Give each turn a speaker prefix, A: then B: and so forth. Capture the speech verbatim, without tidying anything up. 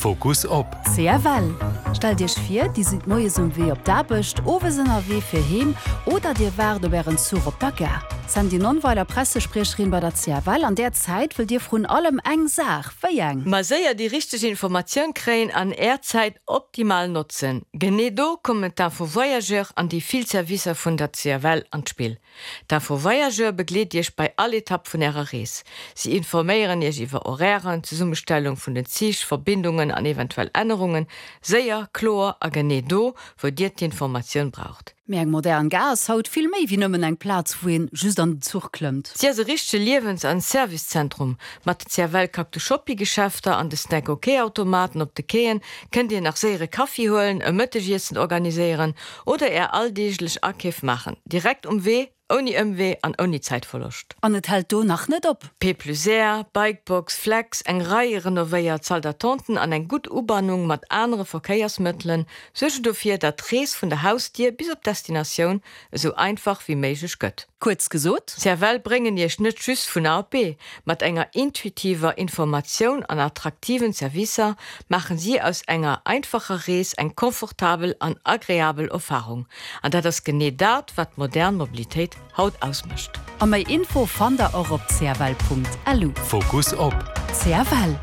A: Fokus op.
B: C F L. Stellt Iech vir, Dir sidd moies um Wee op d'Aarbecht, owes ënnerwee fir heem oder Dir waart op Ären Zuch op der Gare. Sandy Nonnweiler, Pressespriecherin bei der C F L, an där Zäit wëllt Dir vrun allem eng Saach, wéi eng?
C: Ma séier déi richteg Informatioun kréien an Är Zäit optimal notzen. Genee do kommen d'Info Voyageur an déi vill Servicer vun der C F L an d'Spill. D'Info Voyageur begleet Iech bei all Etapp vun Ärer Rees. Si informéieren Iech iwwer Horairen, Zesummestellung vun den Zich, Verbindungen an eventuell Ännerungen, séier, kloer a genee do, wou Dir d'Informatioun braucht.
B: Mee eng modern Gare ass haut vill méi wéi nëmmen eng Plaz, wou een just an den Zuch klëmmt.
C: Si ass e richtege Liewens an Servicezentrum. Mat de C F L Cactus Shopping-Geschäfter an de Snack OK-Automaten op de Quaien kënnt Dir nach séier e Kaffi huelen, e Mëttegiessen organiséieren oder Är alldeeglech Akeef maachen. Direkt um Wee, ouni Ëmwee an ouni Zäitverloscht.
B: An et hält do nach net op.
C: P plus R, Bikebox, Flex, eng Rei renovéiert Salle-d'attenten an eng gutt Ubannung mat anere Verkéiersmëttelen suergen dofir, datt d'Rees vun der Hausdier bis op d'Destinatioun esou einfach wéi méiglech gëtt.
B: Kuerz gesot,
C: C F L bréngen Iech net just vun A op B. Mat enger intuitiver Informatioun an attraktiven Servicer maachen si aus enger einfacher Rees eng komfortabel an agreabel Erfarung. An dat ass genee dat, wat modern Mobilitéit haut ausmécht.
B: A méi Info fannt der och op C F L Punkt L U.
A: Fokus op.
B: C F L.